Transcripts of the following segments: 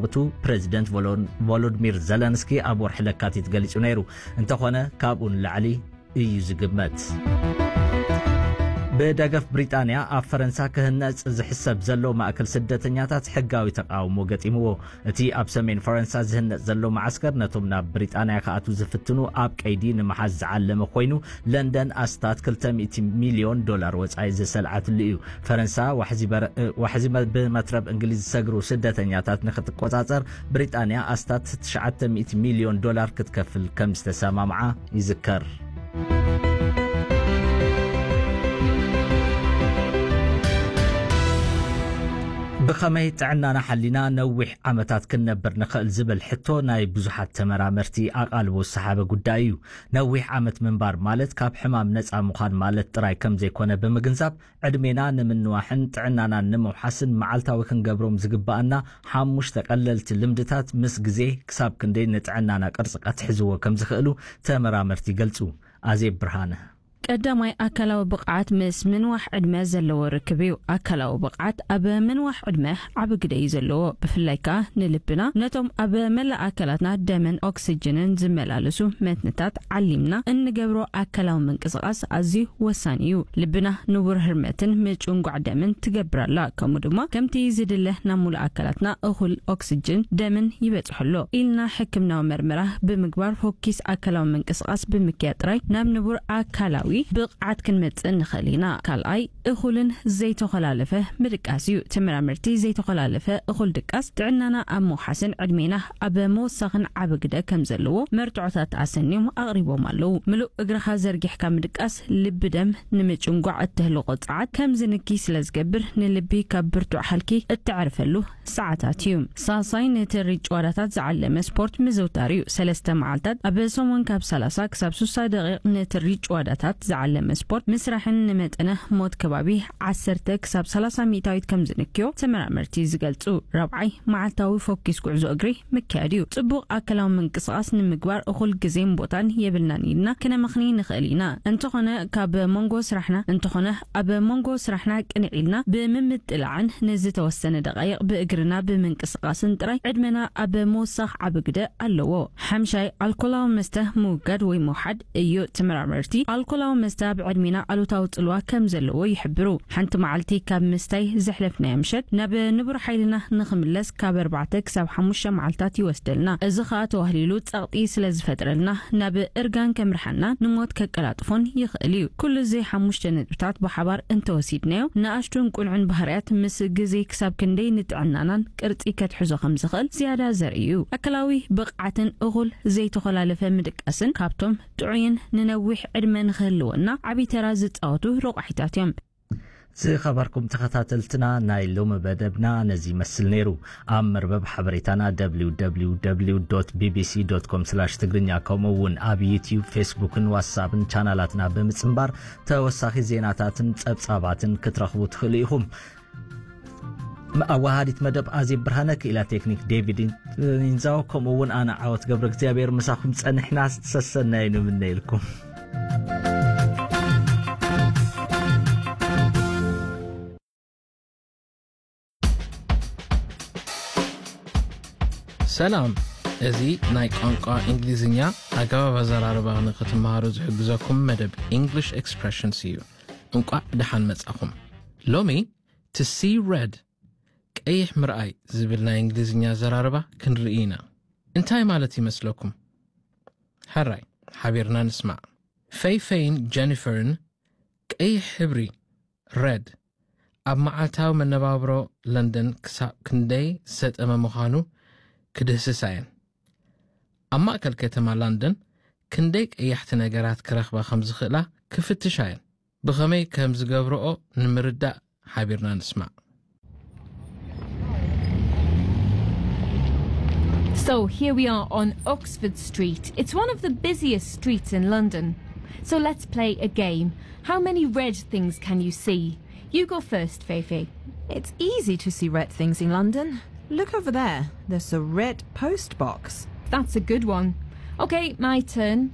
እቱ ፕሬዚደንት ቮሎን-፣ ቮሎድሚር ዘለንስኪ ኣብ ወርሒ ለካቲት ገሊጹ ነይሩ። እንተኾነ ካብኡ ንላዕሊ እዩ ዝግመት። ብደገፍ ብሪጣንያ ኣብ ፈረንሳ ክህነጽ ዝሕሰብ ዘሎ ማእከል ስደተኛታት ሕጋዊ ተቃውሞ ገጢምዎ። እቲ ኣብ ሰሜን ፈረንሳ ዝህነጽ ዘሎ መዓስከር ነቶም ናብ ብሪጣንያ ክኣትዉ ዝፍትኑ ኣብ ቀይዲ ንምሓዝ ዝዓለመ ኮይኑ፣ ለንደን ኣስታት ክልተ ሚእቲ ሚልዮን ዶላር ወጻኢ ዝሰልዓትሉ እዩ። ፈረንሳ ዋሕዚ በር-፣ ዋሕዚ መ-፣ ብመትረብ እንግሊዝ ዝሰግሩ ስደተኛታት ንክትቆጻጸር ብሪጣንያ ኣስታት ትሽዓተ ሚእቲ ሚልዮን ዶላር ክትከፍል ከም ዝተሰማምዓ ይዝከር። ብኸመይ ጥዕናና ሓሊና ነዊሕ ዓመታት ክንነብር ንኽእል ዝብል ሕቶ ናይ ብዙሓት ተመራመርቲ ኣቓልቦ ዝሰሓበ ጉዳይ እዩ። ነዊሕ ዓመት ምንባር ማለት ካብ ሕማም ነጻ ምዃን ማለት ጥራይ ከም ዘይኮነ ብምግንዛብ፣ ዕድሜና ንምንዋሕን ጥዕናና ንምውሓስን መዓልታዊ ክንገብሮም ዝግባኣና ሓሙሽተ ቀለልቲ ልምድታት ምስ ግዜ ክሳብ ክንደይ ንጥዕናና ቅርጺ ከትሕዝዎ ከም ዝኽእሉ ተመራመርቲ ይገልጹ። ኣዜብ ብርሃነ። ቀዳማይ፣ ኣካላዊ ብቕዓት ምስ ምንዋሕ ዕድመ ዘለዎ ርክብ እዩ። ኣካላዊ ብቕዓት ኣብ ምንዋሕ ዕድመ ዓቢ ግደ እዩ ዘለዎ፣ ብፍላይ ከኣ ንልብና፣ ነቶም ኣብ መላእ ኣካላትና ደምን ኦክስጅንን ዝመላለሱ መትንታት ዓሊምና እንገብሮ ኣካላዊ ምንቅስቓስ ኣዝዩ ወሳኒ እዩ። ልብና ንቡር ህርመትን ምጭንጓዕ ደምን ትገብር ኣላ፣ ከምኡ ድማ ከምቲ ዝድለ ናብ ሙሉእ ኣካላትና እኹል ኦክስጅን ደምን ይበጽሖ ኣሎ ኢልና ሕክምናዊ መርመራ ብምግባር ፎኪስ ኣካላዊ ምንቅስቓስ ብምክያድ ጥራይ ናብ ንቡር ኣካላዊ ብቕዓት ክንመጽእ ንኽእል ኢና። ካልኣይ፣ እኹልን ዘይተኾላለፈ ምድቃስ እዩ። ተመራመርቲ ዘይተኾላለፈ እኹል ድቃስ ጥዕናና ኣብ ምውሓስን ዕድሜና ኣብ ምውሳኽን ዓቢ ግደ ከም ዘለዎ መርትዖታት ኣሰንዮም ኣቕሪቦም ኣለዉ። ምሉእ እግርኻ ዘርጊሕካ ምድቃስ ልቢ ደም ንምጭንጓዕ እተህልቆ ጸዓት ከም ዝንኪ ስለ ዝገብር፣ ንልቢ ካብ ብርቱዕ ሃልኪ እተዕርፈሉ ሰዓታት እዩ። ሳልሳይ፣ ንትሪ ጭዋዳታት ዝዓለመ ስፖርት ምዝውታር እዩ። ሰለስተ መዓልታት ኣብ ሰሙን ካብ ሰላሳ ክሳብ ስሳ ደቂቕ ንትሪ ጭዋዳታት ዝዓለመ ስፖርት ምስራሕን ንመጠነ ሞት ከባቢ ዓሰርተ ክሳብ ሰላሳ ሚእታዊት ከም ዝንክዮ ተመራመርቲ ዝገልጹ። ራብዓይ፣ መዓልታዊ ፎኪስ ጉዕዞ እግሪ ምክያድ እዩ። ጽቡቕ ኣካላዊ ምንቅስቓስ ንምግባር እኹል ግዜን ቦታን የብልናን ኢልና ክነመኽኒ ንኽእል ኢና። እንተኾነ ካብ መንጎ ስራሕና፣ እንተኾነ ኣብ መንጎ ስራሕና ቅንዕ ኢልና ብምምጥላዕን ንዝተወሰነ ደቃይቕ ብእግርና ብምንቅስቓስን ጥራይ ዕድመና ኣብ ምውሳኽ ዓቢ ግደ ኣለዎ። ሓምሻይ፣ ኣልኮላዊ መስተ ምውጋድ ወይ ምውሓድ እዩ። ተመራመርቲ ኣልኮላዊ መስተ ኣብ ዕድሜና ኣሉታዊ ጽልዋ ከም ዘለዎ ይሕብሩ። ሓንቲ መዓልቲ ካብ ምስታይ ዘሕለፍናዮ ምሸት ናብ ንቡር ሓይልና ንኽምለስ ካብ ኣርባዕተ ክሳብ ሓሙሽተ መዓልታት ይወስደልና። እዚ ኸኣ ተዋህሊሉ ጸቕጢ ስለ ዝፈጥረልና ናብ እርጋን ከምርሓና ንሞት ከቀላጥፎን ይኽእል እዩ። ኩሉ እዚ ሓሙሽተ ነጥብታት ብሓባር እንተወሲድናዮ ንኣሽቱን ቁኑዕን ባህርያት ምስ ግዜ ክሳብ ክንደይ ንጥዕናናን ቅርጺ ከትሕዞ ከም ዝኽእል ዝያዳ ዘርኢ እዩ። ኣካላዊ ብቕዓትን እኹል ዘይተኾላለፈ ምድቃስን ካብቶም ጥዑይን ንነዊሕ ዕድመ ንኽህልወና ዓቢ ተራ ዝጻወቱ ረቋሒታት እዮም። ዝኸበርኩም ተኸታተልትና፣ ናይ ሎሚ መደብና ነዚ ይመስል ነይሩ። ኣብ መርበብ ሓበሬታና ደብሊው ደብሊው ደብሊው ዶት ቢ ቢ ሲ ዶት ኮም ስላሽ ትግርኛ፣ ከምኡ እውን ኣብ ዩትዩብ፣ ፌስቡክን ዋትሳፕን ቻናላትና ብምጽንባር ተወሳኺ ዜናታትን ጸብጻባትን ክትረኽቡ ትኽእሉ ኢኹም። ኣዋሃዲት መደብ ኣዜብ ብርሃነ፣ ክኢላ ቴክኒክ ዴቪድ ኢንዛው፣ ከምኡ እውን ኣነ ዓወት ገብረ እግዚኣብሔር ምሳኹም ጸኒሕና ሰሰናዩ ንምነየልኩም። ሰላም፣ እዚ ናይ ቋንቋ እንግሊዝኛ ኣገባብ ኣዘራርባ ንኽትመሃሩ ዝሕግዘኩም መደብ English Expressions እዩ። እንቋዕ ደሓን መጻኹም። ሎሚ to see red፣ ቀይሕ ምርኣይ ዝብል ናይ እንግሊዝኛ ኣዘራርባ ክንርኢ ኢና። እንታይ ማለት ይመስለኩም? ሕራይ፣ ሓቢርና ንስማዕ። ፈይፈይን ጀኒፈርን ቀይሕ ሕብሪ፣ red፣ ኣብ መዓልታዊ መነባብሮ ለንደን ክሳብ ክንደይ ዝሰጠመ ምዃኑ ክድህስሳ እየን። ኣብ ማእከል ከተማ ለንደን ክንደይ ቀያሕቲ ነገራት ክረኽባ ከም ዝኽእላ ክፍትሻ እየን። ብኸመይ ከም ዝገብርኦ ንምርዳእ ሓቢርና ንስማዕ። So here we are on Oxford Street. It's one of the busiest streets in London. So let's play a game. How many red things can you see? You go first, Feifei. It's easy to see red things in London. Look over there. There's a red post box. That's a good one. Okay, my turn.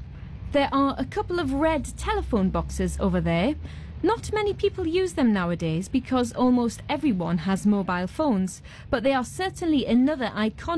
There are a couple of red telephone boxes over there. Not many people use them nowadays because almost everyone has mobile phones, but they are certainly another iconic